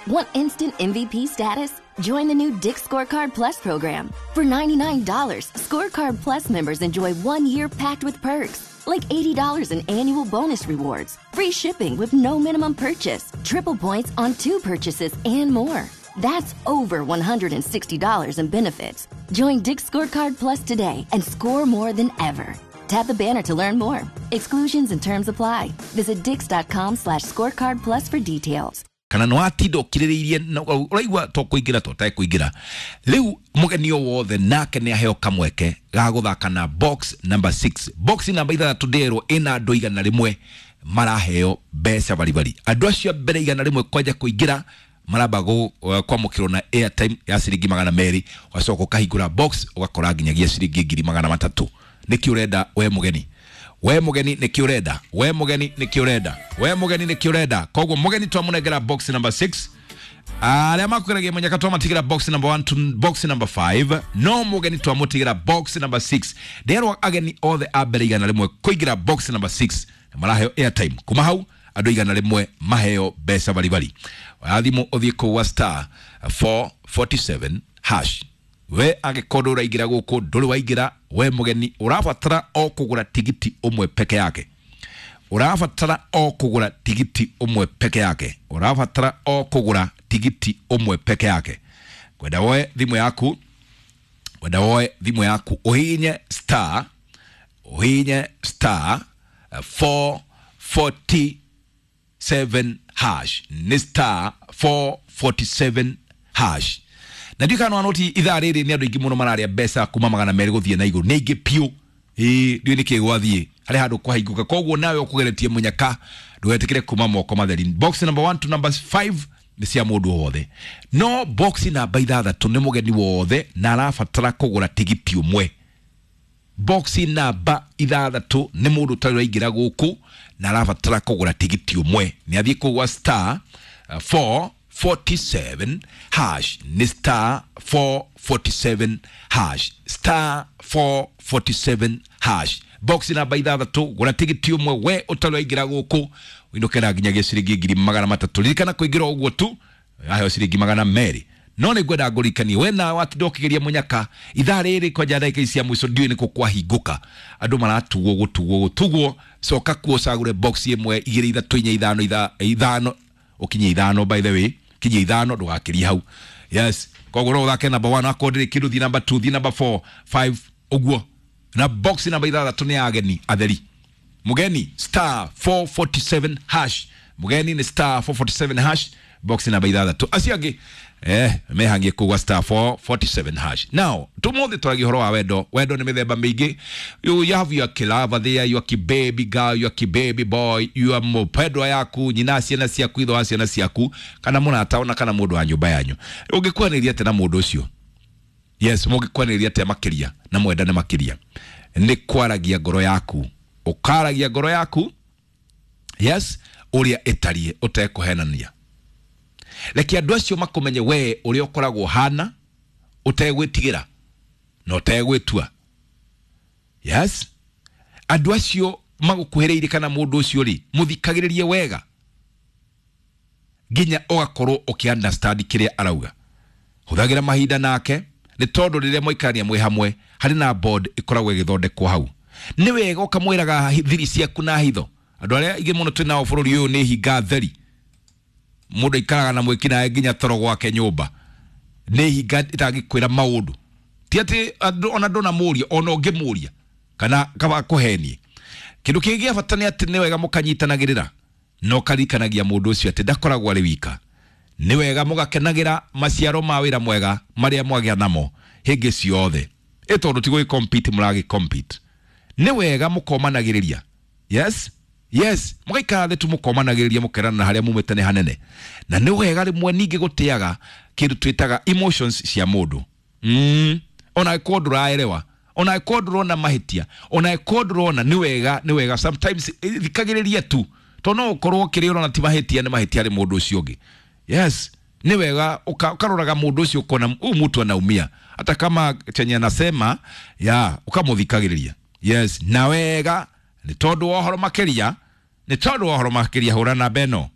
Want instant MVP status? Join the new Dick's Scorecard Plus program. For $99, Scorecard Plus members enjoy 1 year packed with perks, like $80 in annual bonus rewards, free shipping with no minimum purchase, triple points on two purchases, and more. That's over $160 in benefits. Join Dick's Scorecard Plus today and score more than ever. Tap the banner to learn more. Exclusions and terms apply. Visit dicks.com/scorecard plus for details. Kana no atinda ũkirĩrĩirie na ũraigua to kũingĩra to ũtekũingĩra. Rĩu mũgeni o wothe nake nĩ aheo kamweke ga gũthaka na box number 6, box namba 6. Ndĩrwo ĩna andũ 100 maraheo mbeca baribari. Andũ acio a mbere 100 kwanja kũingĩra maramba kwamũkĩrwo na airtime ya ciringi 200. Ũgacoka ũkahingũra box, ũgakora nginyagia ciringi 300,000. Nĩkĩ ũrenda we mũgeni? We mũgeni, nĩkĩ ũrenda? We mũgeni, nĩkĩ ũrenda? We mũgeni, nĩkĩ ũrenda? Koguo mũgeni twamũnengera box number 6. Arĩa makũgeragia mũnyaka twamatigĩra box number 1 to box number 5, no mũgeni twamũtigĩra box number 6. Nderwo ageni othe a mbere 100 kũingĩra box number 6 na maraheo airtime. Kuma hau andũ 100 maheo mbeca baribari. Oya thimũ, ũthiĩ kũu wa star 447 hash. We angĩkorwo ndũraingĩra gũkũ, ndũrĩ waingĩra, we mũgeni ũrabatara o kũgũra tigiti ũmwe peke yake. Ũrabatara o kũgũra tigiti ũmwe peke yake. Ũrabatara o kũgũra tigiti ũmwe peke yake. Kwenda woe thimũ yaku, kwenda woe thimũ yaku, ũhihinye star, ũhihinye star 447 hash. Nĩ star 447 hash. Na ndiũ kana noti ithaa rĩrĩ nĩ andũ aingĩ mũno mararĩa mbeca kuma 200 gũthiĩ na igũrũ. Nĩ aingĩ piũ. Ĩĩ, ndiũĩ nĩkĩ gwathiĩ harĩ handũ kwahingũka. Koguo nawe ũkũgeretie mũnyaka, ndũgetĩkĩre kuma moko matheri. Box number 1 to number 5 nĩ cia mũndũ wothe, no box namba 6 nĩ mũgeni wothe na arabatara kũgũra tigiti ũmwe. Box namba 6 nĩ mũndũ ũtarĩ ũraingĩra gũkũ na arabatara kũgũra tigiti ũmwe. Nĩ athiĩ kũgwa star 447 hash. Nĩ star 447 hash, star 447 hash, box namba 6. Gũra tigiti ũmwe we ũtarĩ waingĩra gũkũ, ũinũke nginyagia ciringi 300,000. Ririkana kũingĩra ũguo tu aheo ciringi 200. No nĩ ngwenda ngũririkanie we nawe watinda ũkĩgeria mũnyaka ithaa rĩrĩ kwanja ndagĩka ici cia mũico, ndiũĩ nĩkũ kwahingũka, andũ maratugwo gũtugwo gũtugwo. Coka kuo ũcagũre box ĩmwe, igĩrĩ, ithatũ, inya, ithano, ithano, ũkinye ithano. By the way, kinyie ithano, ndũgakĩrie hau. Yes, koguo no ũthake number 1. Akorwo ndĩrĩ kĩndũ, thiĩ number 2, thiĩ number 4, 5, ũguo. Na box namba 6 nĩ ya ageni atheri. Mugeni, star 447 hash. Mugeni nĩ star 447 hash, box namba 6. Acio angĩ mehangie kugwa star 447 hash. Now tumuthi twaragia ũhoro wa wendo. Wendo nĩ mĩthemba mĩingĩ. You have your kilava there, your kibaby girl, your kibaby boy, your mũpendwa yaku, nyina ciana ciaku, ithe wa ciana ciaku, kana mũrata ona kana mũndũ wa nyũmba yanyu. Ũngĩkwanĩria atĩa na mũndũ ũcio? Yes, mũngĩkwanĩria atĩa makĩria na mwendane makĩria? Nĩ kwaragia ngoro yaku, ũkaragia ngoro yaku, yes, ũrĩa ĩtariĩ ũtekũhenania. Reke andũ acio makũmenye we ũrĩa ũkoragwo hana, ũtegwĩtigĩra na ũtegwĩtua. Yes, andũ acio magũkuhĩrĩirie kana mũndũ ũcio rĩ, mũthikagĩrĩrie wega nginya ũgakorwo ũkĩ understand kĩrĩa arauga. Hũthagĩra mahinda nake, nĩ tondũ rĩrĩa mwaikarania mwĩ hamwe harĩ na bond ĩkoragwo ĩgĩthondekwo hau. Nĩ wega ũkamwĩraga thiri ciaku na hitho. Andũ arĩa aingĩ mũno twĩ nao bũrũri ũyũ nĩ hinga theri. Mũndũ aikaraga na mwĩkinaĩ nginya toro gwake nyũmba, nĩ hinga ĩtangĩkwĩra maũndũ. Ti atĩ ona ndũnamũria, ona ũngĩmũria kana kaba kũhenie. Kĩndũ kĩngĩ gĩa bata nĩ atĩ nĩ wega mũkanyitanagĩrĩra na ũkaririkanagia mũndũ ũcio atĩ ndakoragwo arĩ wika. Nĩ wega mũgakenagĩra maciaro ma wĩra mwega marĩa mwagĩa namo hĩngĩ ciothe, ĩ tondũ ti gũgĩ compete mũragĩ compete. Nĩ wega mũkomanagĩrĩria. Yes, mũgaikara thĩ tu mũkomanagĩrĩria, mũkerana na harĩa mumĩte nĩ hanene. Na nĩ wega rĩmwe ningĩ gũtĩaga kĩndũ twĩtaga emotions cia mũndũ. Ona angĩkorwo ndũraerewa, ona angĩkorwo ndũrona mahĩtia, ona angĩkorwo ndũrona, nĩ wega, nĩ wega sometimes thikagĩrĩria tu, tondũ no ũkorwo kĩrĩa ũrona ti mahĩtia nĩ mahĩtia harĩ mũndũ ũcio ũngĩ. Yes, nĩ wega ũkaroraga mũndũ ũcio, ũkona huyu mtu anaumia hata kama chenye anasema ya ũkamũthikagĩrĩria. Yes, na wega nĩ tondũ wa ũhoro makĩria, nĩ tondũ wa ũhoro makĩria, hũra namba ĩno.